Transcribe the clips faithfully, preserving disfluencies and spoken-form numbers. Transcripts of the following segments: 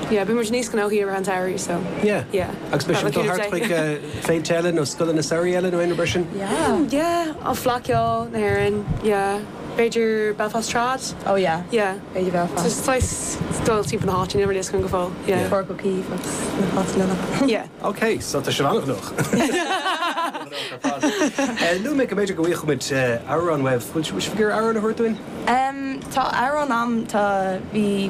Yeah, bíonn muid níos gnóthaí ar an samhradh so. Yeah. Yeah. Agus be sin dul thart chuig féilte eile nó scoileanna samhraidh eile nó aon rud sin? Yeah. Yeah, an Fleadh Cheoil na hÉireann, yeah. B'fhéidir Belfast Trad. Oh yeah. Yeah. B'fhéidir Belfast. Just dul timpeall na háite really go fóill. Yeah. Páirc O'Keeffe agus na háiteanna. Yeah. Ok, so tá sé an-ghnóthach. Lu mé go mb'fhéidir go bhfaighimid amhrán uaibh bhfuil sibh ag amhrán a thabhairt dúinn? Um, tá amhrán agam tá bhí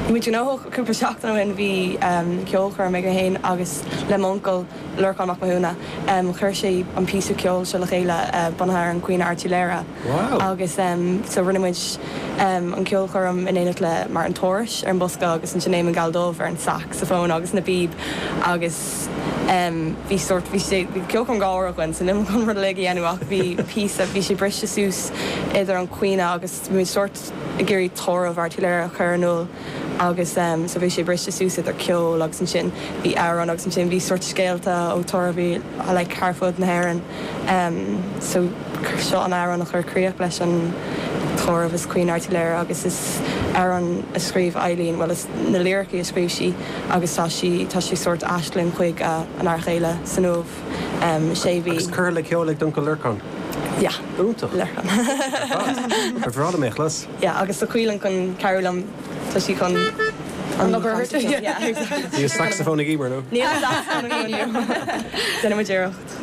muid gnóthach cúpla seachtain ó shin bhí um, ceolchoirm ag féin agus le m'uncail Lorcán Mac Mathúna um, chuir sé an píosa ceoil seo le chéile uh, bunaithe ar an Caoineadh Airtiléire. Wow. Agus um, so rinne muid um, an ceolchoirm in éineacht le mar an Tuairis ar an bosca agus an Sinéad Galdómh ar an saxophone agus na bíb agus um, bhí sort bhí sé bhí ceolchoirm gáir againn san im chun rud le dhéanamh ach bhí píosa bhí sé briste suas idir an caoineadh agus bhí sort ag iarraidh tórramh Airtiléire a chur in iúl agus um, so bhí sé briste suas idir ceol agus ansin bhí amhrán agus ansin bhí sort scéalta ó tórraimh like thar fud na hÉireann um, so seo an amhrán a chur críoch leis an tórramh is Caoineadh Airtiléire agus is amhrán a scríobh Eileen well is na liricí a scríobh sí agus tá sí tá sí sort aisling chuig uh, an fhear céile san uaimh um, sé bhí Agus cur le ceol ag d'uncail Lorcán. Yeah. Iontach. Lorcán. Ar bhreá mé chlas. Yeah, agus tá Caoileann chun cabhrú liom tá sí chun An obair a thabhairt? Yeah, exactly. Bhí saxophone ag Emer nó? Níl saxophone againn. Déanfaidh muid iarracht.